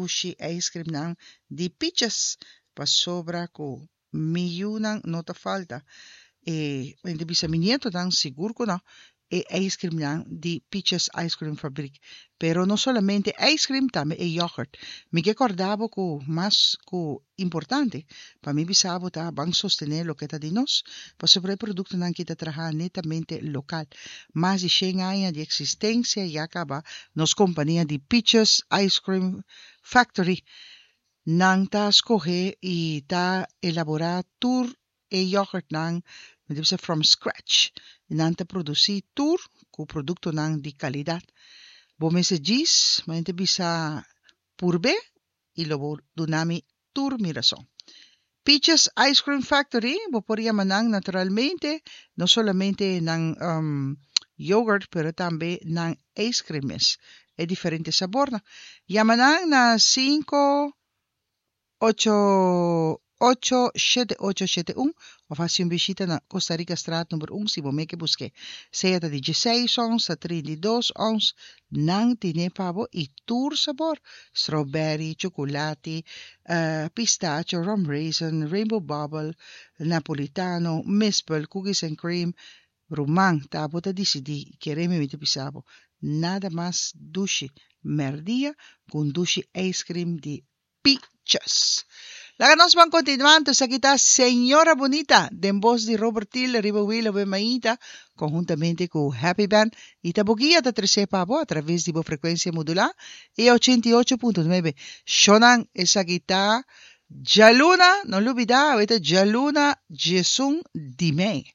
dushi ijscreamnan di Peaches pasobra ku mi yunan no ta falta e mi ta bisa mi nietonan sigur ku no e ijscreamnan di Peaches Ice Cream Fabriek. Pero no solamente ijscream tambe e yoghurt. Mi ke kòrda bo ku mas ku importante pa mi bisa bo ta ban sostené loke ta di nos pasobra e produktonan ki ta traha netamente lokal. Mas di shen aña di eksistensia ya kaba nos kompania di Peaches Ice Cream Factory. Nan ta skohe i ta elaborá tur e yoghurtnan, mi ta bisa from scratch. Nan ta produsí tur ku produktonan di kalidat. Bo mester djis, mi ta bisa purb'é i lo bo duna mi tur mi rason. Peaches Ice Cream Factory, bo por yama nan naturalmente, no solamente nan yoghurt pero tambe nan ice cream mes, e diferente sabornan. Yama nan na sinku ocho ocho shete ocho shete un of hasi un bishita na Costa Rica Straat number un si bo meke busk'é. Sea ta di dieseis ons ta 32 ons, nan tine pa bo i tur sabor, strawberry, chocolati, pistacho, rum raisin, rainbow bubble, napolitano, mispel, cookies and cream, Ruman, ta bo ta disidí i kere mi mi ta bisa bo, nada mas dushi mèrdia ku un dushi ijscream di Peaches. Laga nos ban continuá anto esaki ta Señora Bonita den bos di Robert Thiel riba Wheel Awe Mainta conhuntamente cu Happy Band y ta bo guia ta trece pa bo a traves di bo frecuencia modulá e 88.9. Shonan esaki ta djaluna, no lubida awe ta djaluna 11 di mei.